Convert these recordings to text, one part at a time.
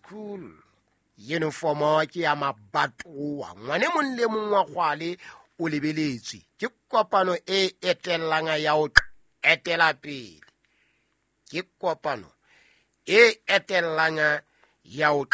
School. Uniformo ke ya mabatowa. Ngwane mong le mong wa kgwale o lebeletswe. Ke kopano e etellang ya ho etela pele. Ke kopano e etellang ya ho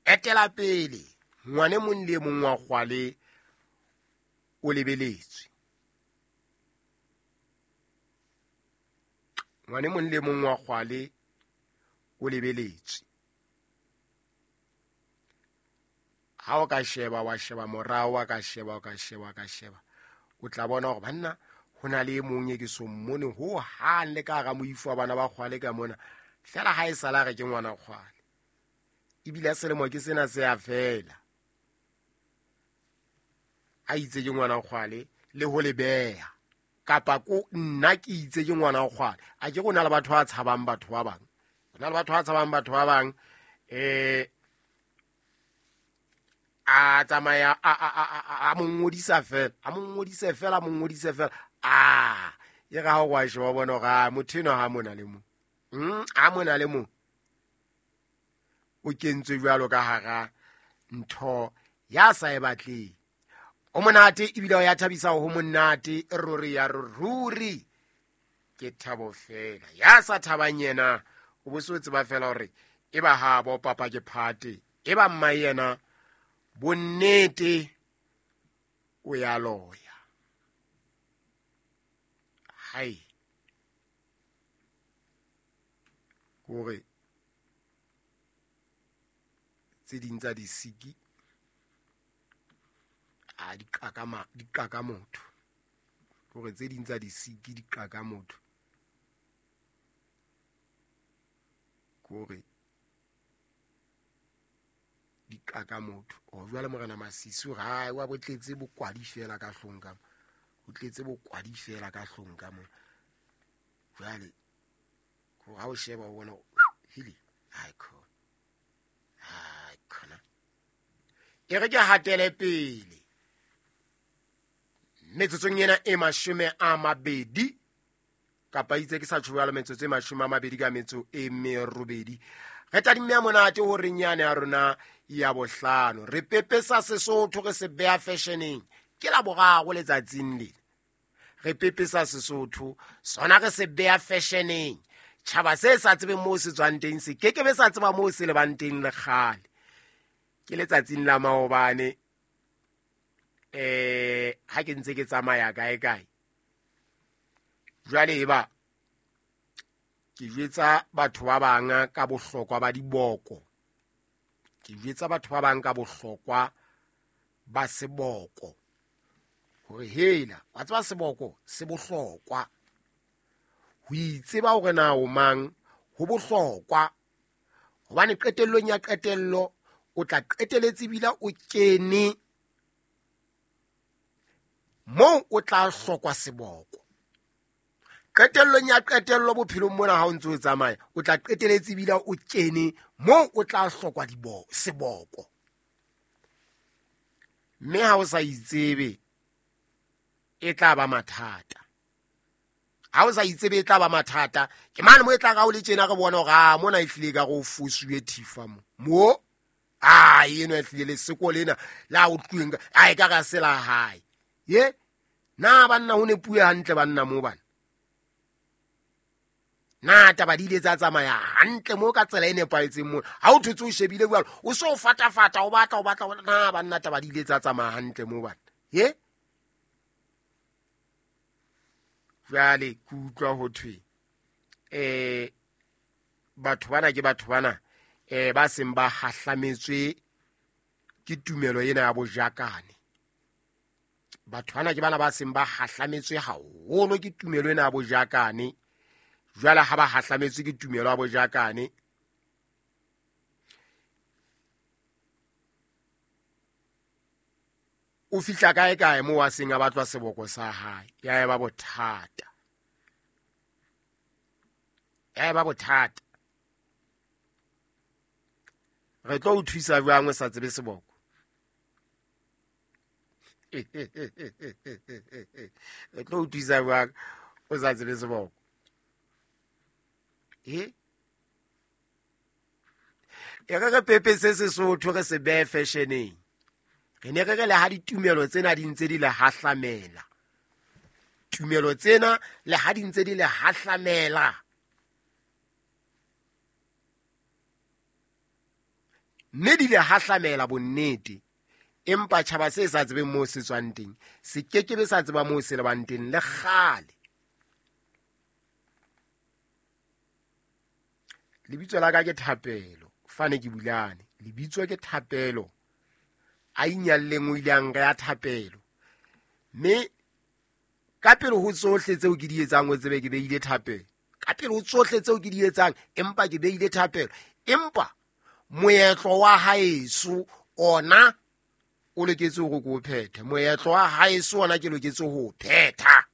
etela pele. Ngwane mong le mong wa kgwale o lebeletswe. Ngwane mong le mong wa kgwale o lebeletswe. Ha o ka sheba, wa sheba morao, wa ka sheba, wa ka sheba, wa ka sheba, o tla bona hore banna ho na le e mong e ke so mmone ho hang le ka hara moifo wa bana ba kgwale ka mona. Fela ha e sala re ke ngwana kgwale. Ebile selemo ke sena se a fela. A itse ke ngwana kgwale le ho le beha. Kapa ko nna ke itse ke ngwana kgwale. A ke go na le batho ba tshabang batho ba bang. Ho na le batho ba tshabang batho ba bang. A tsamaya a mo ngodisa fela, a mo ngodise fela, a mo ngodise fela. A e re ha o wa sheba bona hore, a motho enwa ha mona le mo. A mona le mo. O kentswe jwalo ka hara ntho ya sa e batleng. O monate ebile o ya thabisa ho monate, ruri ya ruri. Ke thabo fela. Ya sa thabang yena, o bo se o tseba fela hore e ba ha bo papa ke phate, e ba mma yena bonnete o ya loya. Hai. Kore tse ding tsa disiki a di qaka ma, di qaka motho. Kore tse ding tsa disiki di qaka motho. Kore di qaka motho. O jwale morena Masisi o re, hai, wa bo tletse bokwadi fela ka hlong ka mo. O tletse bokwadi fela ka hlong ka mo. Jwale, kore ha o sheba o bona, hili, hai khona. Hai khona. E re ke hatele pele. Metsotsong ena e 20, kapa itse ke sa tjho jwalo, metsotso e 20 ka metso e 8. Re tadimme ya monate ho reng yane ya rona ya bohlano. Re pepesa Sesotho, re se beha fashioneng. Ke la boraro letsatsing lena. Re pepesa Sesotho, sona re se beha fashioneng. Tjhaba se sa tsebeng moo se tswang teng, se ke ke be sa tseba moo se lebang teng le kgale. Ke letsatsing la maobane, ha ke ntse ke tsamaya kae kae. Jwale eba ke jwetsa batho ba bang ka bohlokwa ba diboko. Ke jwetsa batho ba bang ka bohlokwa ba seboko. Hore hela, wa tseba seboko se bohlokwa. Ho itseba hore na o mang ho bohlokwa. Hobane qetellong ya qetello o tla qeteletse ebile o kene moo o tla hlokwa seboko. Qetellong ya qetello bophelong mona ha o ntse o tsamaya, o tla qeteletse ebile o kene moo o tla hlokwa seboko. Mme ha o sa itsebe, e tla ba mathata. Ha o sa itsebe e tla ba mathata. Ke mane mo e tla ka o le tjena re bona hore, ah, mona e hlile ka re o fosuwe thifa mo. Mo? Ah, eno e hlile leseko lena la o tluweng ka, ah, e ka re se la hae. Ye? Na banna ho ne puo hantle banna mo bana? Na taba di ile tsa tsamaya hantle mo ka tsela e nepahetseng mo? Ha o thotse o shebile jwalo, o so fatafata, o batla, o batla, o batla. Na banna taba di ile tsa tsamaya hantle mo bana? Ye? Jwale ke utlwa ho thwe, batho bana ke batho bana, ba seng ba hahlametswe ke tumelo ena ya bojakane. Batho bana ke bana ba seng ba hahlametswe haholo ke tumelo ena ya bojakane. Jwale ha ba hahlametswe ke tumelo ya bojakane, o fihla kae kae moo a seng a batlwa seboko sa hae, ya eba bothata. Ya eba bothata. Re tlo o thusa jwang o sa tsebe seboko? Re tlo o thusa jwang o sa tsebe seboko? E? E re re pepese Sesotho re se behe fashioneng. Re ne re re le ha ditumelo tsena di ntse di le hahlamela, tumelo tsena le ha di ntse di le hahlamela, mme di le hahlamela bonnete, empa tjhaba se sa tsebeng moo se tswang teng se kekebe sa tseba moo se lebang teng le kgale. Lebitso la ka ke Thapelo, fane ke Bulane. Lebitso ke Thapelo, a inyalleng o ile a nreha Thapelo. Mme ka pele ho tsohle tseo ke di etsang o tsebe ke beile thapelo. Ka pele ho tsohle tseo ke di etsang empa ke beile thapelo. Empa moetlo wa haeso ona o loketse hore ke o phethe. Moetlo wa haeso ona ke loketse ho o phetha.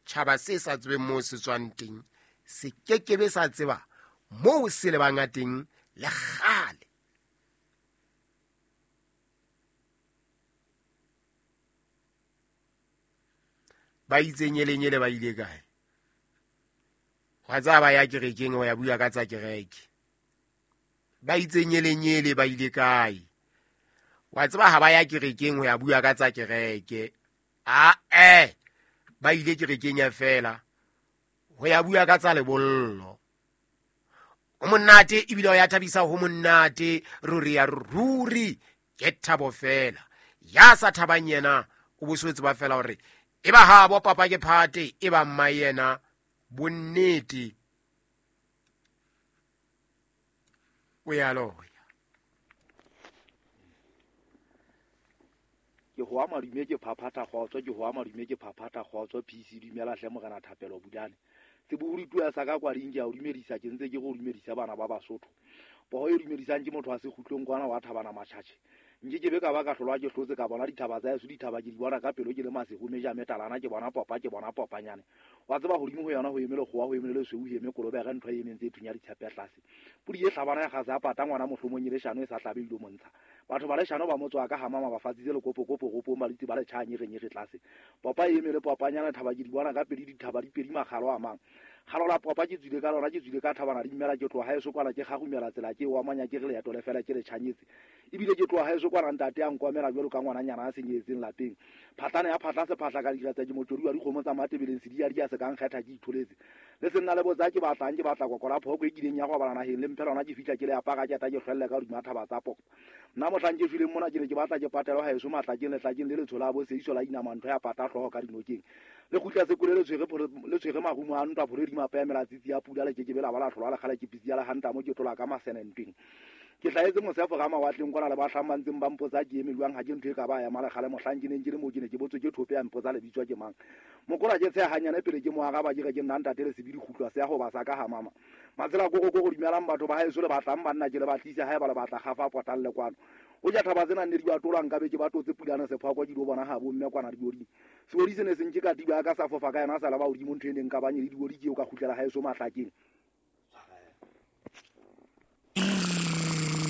Tjhaba se sa tsebeng moo se tswang teng se kekebe sa tseba moo se lebang a teng le kgale. Ba itse nyelenyele ba ile kae? Wa tseba ba ya kerekeng ho ya bua ka tsa kereke. Ba itse nyelenyele ba ile kae? Wa tseba ha ba ya kerekeng ho ya bua ka tsa kereke. A ba ile kerekeng ya fela ho ya bua ka tsa lebollo. O monate ebile o ya thabisa ho monate ruri ya ruri ke thabo fela. Ya sa thabang yena o bo se tseba fela hore e ba habo papa ke phate e ba mma yena bonnete o ya loya. Ke hoa madume ke phaphatha kgotso, ke hoa madume ke phaphatha kgotso. PC dumela hle morena Thapelo Bulane. Sebohodi tua sa ka kwading ke a o dumedisa, ke ntse ke go dumedisa bana ba Basotho. Poho e dumedisang ke motho wa sekgutlong kwana wa Thabana Matjhatjhe. Nke ke be ka ba ka hlolwa ke hlotse ka bona dithaba tsa heso, dithaba ke di bona ka pelo ke le masego meja metalana, ke bona popa, ke bona popanyane. Wa tseba hodimo ho yona ho eme lekgowa, ho eme le lesweu, ho eme kolobere, ntho e emeng tse thunya ditshepe tlase. Pudi e hlabana ya gase ya pata ngwana mohlomong e leshano e sa hlabe ilo montsha. Batho ba leshano ba motswa ka hamama ba fatsitse lekopokopo gopong ba ditse ba le tjha nyerenyere tlase. Popa e eme le popanyana, thaba ke di bona ka pedi, dithaba di pedi makgalo a mang. Kgalo la popa ke tswile ka lona, ke tswile ka thabana di mmela, ke tloha haeso kwana ke kgarumela tsela ke wa manya ke re leeto le fela ke le tjhanyetse. Ebile ke tloha haeso kwana ntate a nkomela jwalo ka ngwananyana a senyehetseng lapeng. Phatlana ya phatla sephahla ka dira tsa ke motjodi wa dikgomo tsa Matebeleng sedia dia se ka nkgetha ke itholetse. Le senna le botsa ke batlang, ke batla kokola phoko e kileng ya go bala naheng le mphe lona ke fihla ke le apara ke eta ke hlwelle ka hodima thaba tsa popa. Nna mohlang ke shweleng mona ke ne ke batla ke patelwa haeso matlakeng letlakeng le letsho la bo seiso la inama ntho ya pata hlooho ka dinokeng. Le kgutla sekole le tshwere le tshwere marumo a ntwa pholo di mapa ya mela tsitsi ya pula le kekebe la ba la hlolwa le kgale ke pitsi ya le hanta mo ke tlola ka masene ntweng. Ke hlahetse mosefo ga mawatleng kwana le bahlang ba ntseng ba mpotsa ke eme jwang, ha ke ntho e ka ba ya malekgale mohlang ke neng ke le moo ke ne ke botswe ke thope ya mpotsa lebitswa ke mang. Mokola ke tsheha hanyane pele ke mo araba ke re ke nna ntate le sebidi kgutlwa se ya ho ba sa ka ha mama. Matsela koko koko dumelang batho ba haeso le batlang banna ke le batlise haeba le batla kgafa potang le kwano. O ja thaba tsena nne di ba tolang ka be ke ba totse pulana sephakwa ke di bona ha bo mme kwana dioding. Seodi se ne se nke ka tiba ka sa fofa ka yena sa la ba hodimo ntho e neng ka banye le diodi ke o ka kgutlela haeso mahlakeng.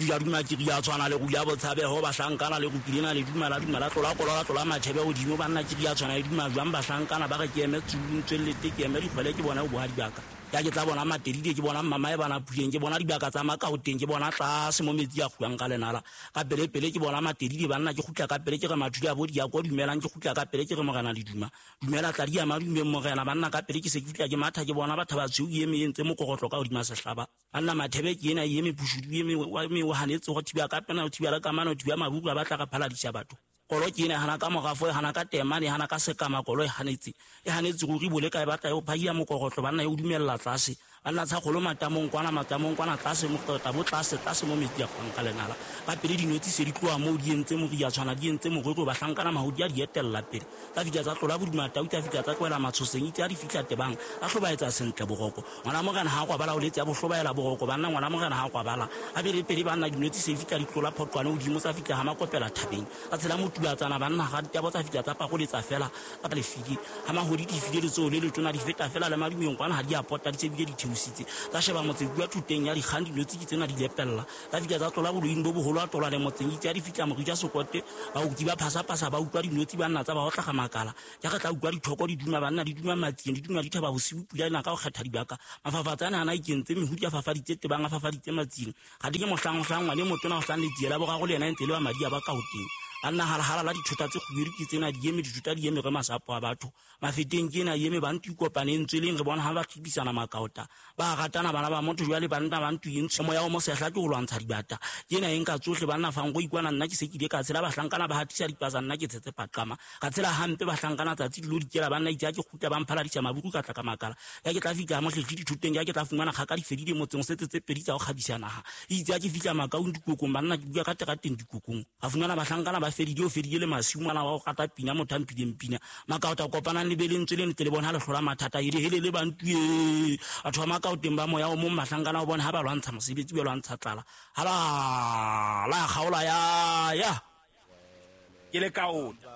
Ya duma ke ya tshwana le go ya botshabeho bahlankana le go kilena le dumela dumela tlola kolola tlola mathebe hodimo banna ke ya tshwana le duma jwang bahlankana ba re ke eme tsulung tswellete ke eme dikgwele ke bona bohadi baka. Ya ke tla bona Matedide ke bona mama e bana Puleng ke bona dibaka tsa Makaoteng ke bona tlase mo metsi a kguang ka lenala. Ka pele pele ke bona Matedide banna ke kgutla ka pele ke re mathudi a bo di ya kwa dumelang ke kgutla ka pele ke re morena le duma. Dumela tla di ya madumeng morena banna ka pele ke se ke fihla ke matha ke bona batho ba tshweu e eme e ntse mokorotlo ka hodima sehlaba. Banna mathebe ke ena e eme pushudu e eme wa eme o hanetse go thiba ka pena o thiba le kamano o thiba mabuku a batla re phaladisa batho. Kolo ke ena hana ka morafo e hana ka temane e hana ka sekama kolo e hanetse. E hanetse ruri bole ka e batla e o phahia mokorotlo banna e o dumella tlase. Banna tsa kgolo matamong kwana tlase moqeta bo tlase tlase mo metsi a kgwang ka lenala. Ka pele dinotshi se di tloha moo di entse moria tshwana di entse morero bahlankana mahodi a di etella pele. Tsa fihla tsa tlola boduma tau tsa fihla tsa tlohela matshoseng itse ha di fihla tebang a hlobaetsa sentle boroko. Ngwana morena ha kwabala o letse a bohlobaela boroko banna ngwana morena ha kwabala. A bele pele banna dinotshi se fihla di tlola phoqwane hodimo tsa fihla ha makopela thabeng. Tsa tshela motubatsana banna ga ditabo tsa fihla tsa pakoletsa fela ka lefiki. Ha mahodi di file letsoho le letona di feta fela le madumeng kwana ha di a pota di tsebile di theositse. Tsa sheba motse bua thoteng ya dikgang dinotshi ke tsena di lepella. Tsa fihla tsa tlola boloing bo boholo a tlola le motseng itse ya di fihla morija sokote baoki ba phasapasa ba utlwa dinotshi banna tsa ba otla makala. Ya re tla utlwa dithoko di duma banna di duma matsing di duma dithaba bosiu pula ena ka ho kgetha dibaka. Mafafatsa ana ana ikentse mehudi a fafaditse tebang a fafaditse matsing. Ga di ke mohlang mohlang ngwane motona o hlang letsiela boraro le yena e ntse le wa madi a ba ka ho teng. Banna halahala la dithota tse kgubedu ke tsena di eme dithota di eme re masapo a batho. Mafeteng ke ena eme ba ntu kopane ntsweleng re bona ha ba thibisana makaota. Ba ratana bana ba motho jwale banna ba ntu e ntshe moya o mosehla ke ho lwantsha dibata. Ke ena e nka tsohle banna fang go ikwana nna ke se ke ile ka tshela bahlankana ba hatisa dipasa nna ke tshetse paqama. Ka tshela hampe bahlankana tsatsi dilo di kela banna itse ha ke kgutla ba mphaladisa mabuku ka tla ka makala. Ya ke tla fihla mohlehle dithoteng ya ke tla fumana kgaka di fedile motseng setse tse pedi tsa ho kgabisa naha. Itse ha ke fihla makaung dikokong banna ke bua ka terateng dikokong. Ka fumana bahlankana ba fedile o fedile le masiu ngwana wa ho rata pina motho a mphileng pina. Makaota kopanang le be lentswe le ntle le bona ha le hlola mathata e hele le bantu e. Batho ba makaoteng ba moya o mong bahlankana o bona ha ba lwantsha mosebetsi ba lwantsha tlala. Ha la la kgaola ya ya. Ke le kaota.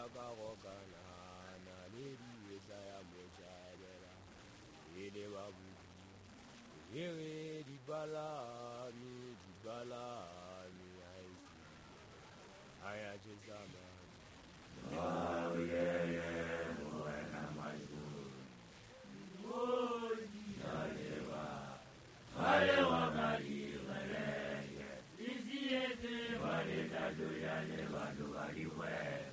Well.